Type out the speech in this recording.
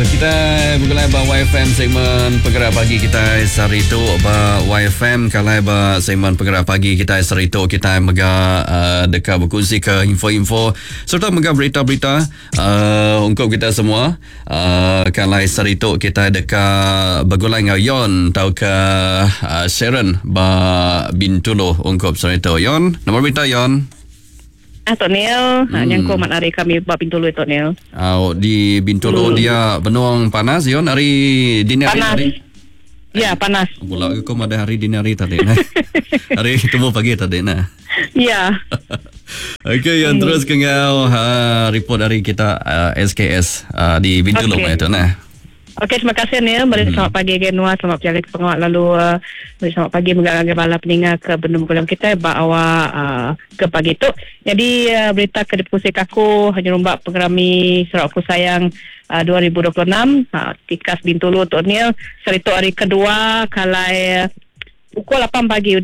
Kita begulai ba YFM segmen Pegera Pagi kita sehari tu ba YFM kalai ba segmen Pegera Pagi kita sehari tu kita mega uh, deka berkongsi ke info-info serta mega berita-berita uh, ungkup kita semua. Uh, kalai sehari tu kita deka begulai enggau Yon tauka uh, Sharon ba Bintulu ungkup sehari tu. Yon, nama berita Yon? Ah Tok Neil, hmm. nyangko mat hari kami ba Bintulu Tok Neil. Au di Bintulu hmm. dia benung panas yon hari dini hari tadi. Ya, panas. Bula ke ko madah hari dini hari tadi nah. hari tubuh pagi tadi nah. Ya. Okey, yang hmm. terus ke ngau uh, report hari kita uh, SKS uh, di Bintulu okay. itu nah. Okey, terima kasih Neil. Meri hmm. selamat pagi ke Nuan, selamat berjalan ke pengawal lalu uh, meri selamat pagi mega ngagai bala peninga ke benung begulai kitai ba awak uh, ke pagi tu. Jadi uh, berita ke dipekusika aku nyerumba pengerami Sarawakku Sayang uh, 2026 uh, tikas Bintulu tu Neil. Saritu hari kedua kalai uh, pukul 8 pagi.